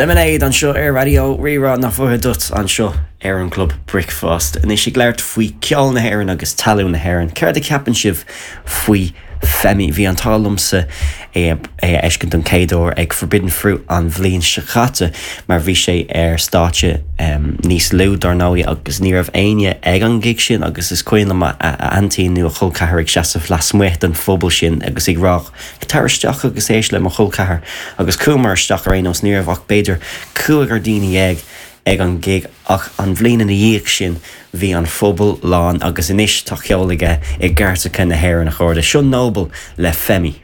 Lemonade anseo ar Raidió Rí-Rá nach bhfuath duit anseo ar an gClub Bricfeasta. Anois ag labhairt faoi ceol na hÉireann agus talún na hÉireann, céard a cheapann sibh faoi Femi? Bhí an t-ádh liomsa é a fheiscint don chéad uair ag Forbidden Fruit an bhliain seo chaite mar bhí sé ar stáitse níos lú dár ndóigh agus ní raibh éinne ag an ghig sin agus is cuimhin liom a aintín nó a chol ceathar ag seasamh lasmuigh den phuball sin agus ag rá Tar isteach agus éist le mo chol ceathar. Agus chuamar isteach ar aon nós, ní raibh ach b'fhéidir cúigear daoine dhéag ag an ghig ach an bhliain ina dhiaidh sin bhí an phuball lán agus anois tá ceol aige i gcairteacha na hÉireann a chairde. Seo Noble le Femi.